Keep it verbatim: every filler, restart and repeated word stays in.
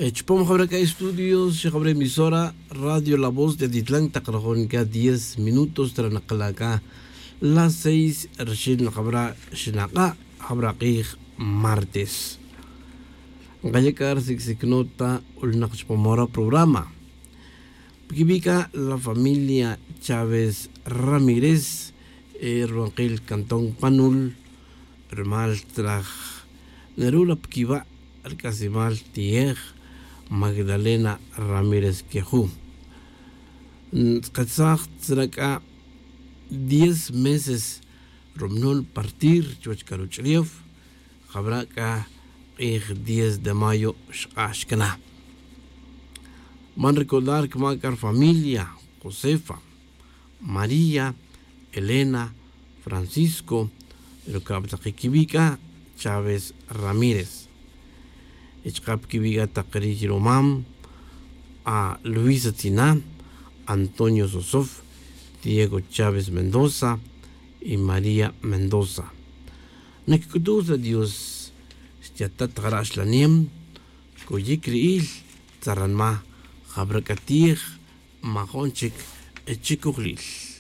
Chupam jabra' c'a estudios xijabra' emisora radio la voz de atitlan tak rajon c'a diez minutos tra nakala' c'a las seis rixin jabra' xinak'a' jabra' k'ij martes. Nkaya' c'a risicsicnot ta c'ulnak chupam ora programa. Piquibi' c'a la familia chávez ramírez ruwankil cantón panul rumal traj neru' la piquiba' rc'asimal ti'ej magdalena ramírez queju'. Ntz'aketsaj tzra' c'a diez meses rumunul partir chuwech c'a ruch'ulef. Jabra' c'a k'ij diez de mayo xk'ax cana. Man recordar cuma' c'a rfamilia josefa, maría, elena, francisco, rucab tak quiwi' c'a chávez ramírez. Y chaka' piquiwi' c'a tak ri rumam a luisa tzina, antonio sosof, diego chávez mendoza y maría mendoza. Nac'utuj ta dios xtiatat jara' xlanem. Coyic ri'il tzaranma jabra' c'a ti'ej majon chic chicojlil.